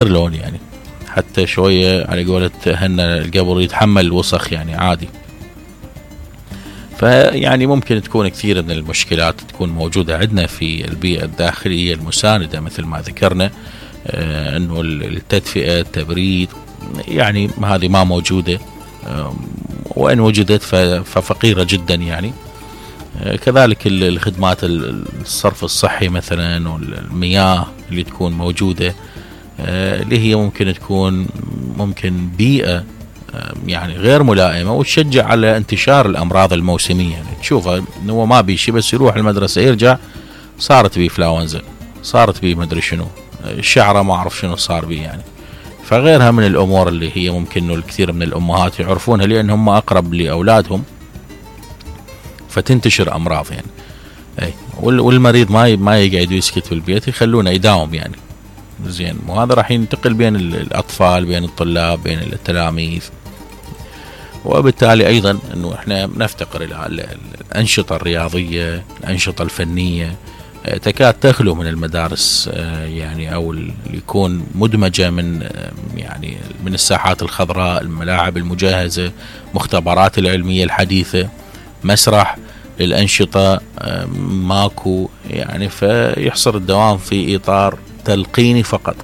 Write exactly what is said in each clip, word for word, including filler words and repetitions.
لون يعني، حتى شوية على قولة هنا القبر يتحمل الوسخ يعني عادي. فيعني ممكن تكون كثير من المشكلات تكون موجودة عندنا في البيئة الداخلية المساندة مثل ما ذكرنا، آه انه التدفئة التبريد يعني هذه ما موجودة، آه وان وجدت ففقيرة جدا يعني. آه كذلك الخدمات الصرف الصحي مثلا والمياه اللي تكون موجودة، آه اللي هي ممكن تكون ممكن بيئة يعني غير ملائمة وتشجع على انتشار الأمراض الموسمية. يعني تشوفه إنه ما بيشي بس يروح المدرسة يرجع صارت بيه فلاونزا، صارت بيه مدري شنو، الشعرة ما أعرف شنو صار بيه يعني. فغيرها من الأمور اللي هي ممكن إنه الكثير من الأمهات يعرفونها لأن هم أقرب لأولادهم، فتنتشر أمراض يعني. أي والمريض ما ما يقعد ويسكت في البيت، يخلونه يداوم يعني زين، وهذا راح ينتقل بين الأطفال بين الطلاب بين التلاميذ. وبالتالي أيضا أنه إحنا نفتقر إلى الأنشطة الرياضية، الأنشطة الفنية تكاد تخلو من المدارس يعني، أو يكون مدمجة من يعني من الساحات الخضراء، الملاعب المجهزة، مختبرات العلمية الحديثة، مسرح للأنشطة ماكو يعني. فيحصر الدوام في إطار تلقيني فقط،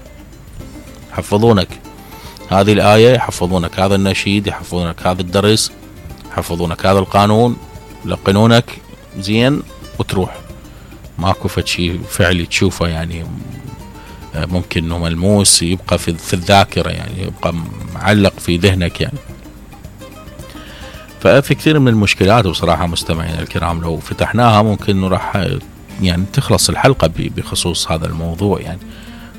يحفظونك هذه الآية، يحفظونك هذا النشيد، يحفظونك هذا الدرس، يحفظونك هذا القانون، يلقنونك زين وتروح. ماكو فشي فعلي تشوفه يعني ممكن انه ملموس يبقى في, في الذاكرة يعني، يبقى معلق في ذهنك يعني. ففي كثير من المشكلات بصراحة مستمعين الكرام لو فتحناها ممكن انه راح يعني تخلص الحلقة بخصوص هذا الموضوع يعني.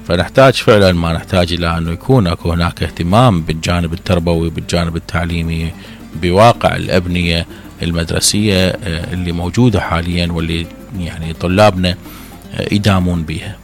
فنحتاج فعلا ما نحتاج إلى أنه يكون أكو هناك اهتمام بالجانب التربوي بالجانب التعليمي بواقع الأبنية المدرسية اللي موجودة حاليا واللي يعني طلابنا يدامون بها.